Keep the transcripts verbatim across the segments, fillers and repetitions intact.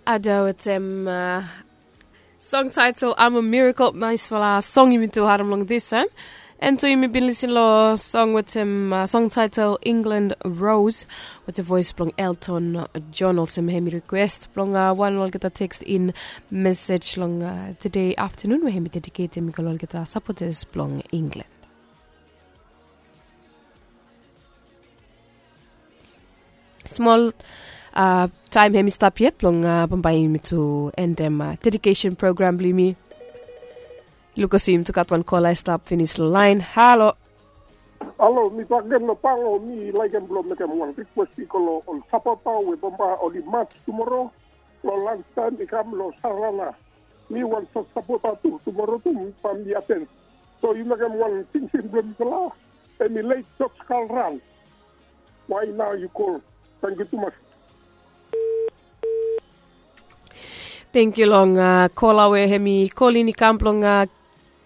Ada wetem song title I'm a Miracle. Naisfala song yumi tu harim long this time. And tu yumi bin lisin long song wetem song title England Rose, wetem voice blong Elton John. Olsem hemi request blong wan olgeta text in message long today afternoon, we hemi dedicate hemi go long olgeta supporters blong England. Smol taem hemi stap yet blong bambae yumi tu endem dedication program blong yumi. Lukasim tu gat wan kola i stap finis long laen. Halo. Halo, mi bakegen long pango, mi laekem blong mekem wan rikwes i go long ol sapota we bambae oli mas tumoro long lanstaem i kam long sarana. Mi wan sot sapota tu tumoro tu, bambae mi aten. So yu mekem wan tingting blong mifala. Hemi leit joj kalran. Wae nao yu kol. Tangkiu tumas. Tangkiu long kola we hemi kolin i kam blong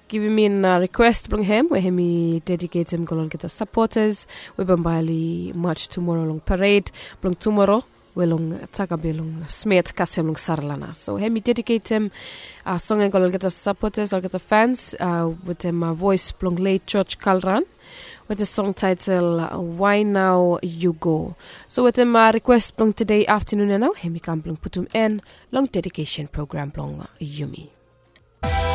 givim in rikwes blong hem we hemi dediketem go long olgeta sapotas we bambae oli maj tumoro long pared blong tumoro, we long takabe long smet kasem long saralana. So hemi dediketem song ya go long olgeta sapotas, olgeta fans, wetem voes blong leit joj kalran, wetem song taetel Wae Nao Yu Go. So wetem rikwes blong tede aftanun ya nao hemi kam blong putum en long dedikesen program blong yumi.